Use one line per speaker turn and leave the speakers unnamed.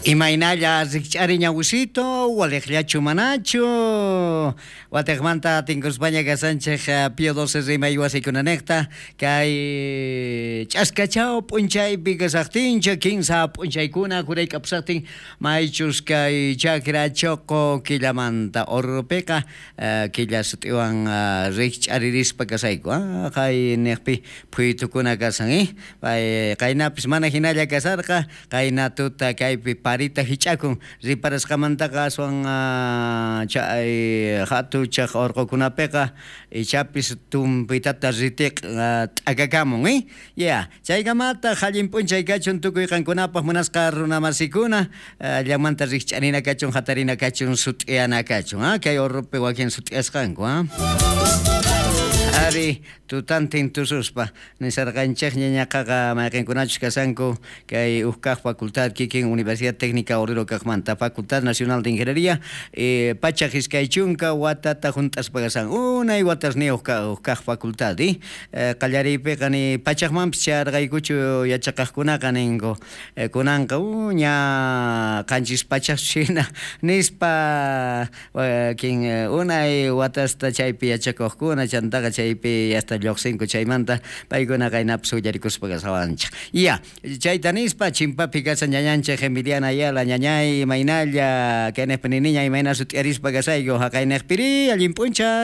Imaynalla rikch'ari ñawusito, waliqllachu manachu? Watejmanta tinkuspaña kasanchej Pío XII rimay wasikunanejta kay ch'askachaw p'unchaypi kasajtincha kinsa p'unchaykuna jurayk'apusajtin maychus kay chakra choqo killamanta Oruropiqa killa sut'iwan rikch'aririspa kasayku qay nejpi phuytukuna kasan pay qaynapis mana jinalla kasarqa qayna tuta kaypi parita jich'akun riparasqamantaqa aswan chay jatuchaj orqokunapiqa ichapis tumpitata ritiq t'akakamun ya chaykamataq allin p'unchay kachun tukuy qankunapaj munasqa runamasikuna llamanta rikch'arina kachun jatarina kachun sut'iyana kachun kay Oruropi wakin sut'iyasqanku ari tutantin tususpa nisarqanchejña ñaqaqa mayqenkunachus kasanku kay uj kaj facultad kikin Universidad Técnica Oruro kajmanta Facultad Nacional de Ingeniería 120 watata junt'aspa kasan unay watasniyuq uj kaj facultad qallariypiqa ni pachajmanpis chayarqaykuchu yachaqajkunaqa ninku kunanqa ña 700 jina nispa wakin unay watasta chaypi yachakojkuna chantaqa chaypi hasta lloqsinku chaymanta paykuna qaynapis willarikuspa kasawanchej ya chayta nispa chimpapi kasan ñañanchej Emiliana Ayala ñañay imaynalla kaynejpi niniña imayna sut'iyarispa kasayku jaqaynejpiri allin p'unchay.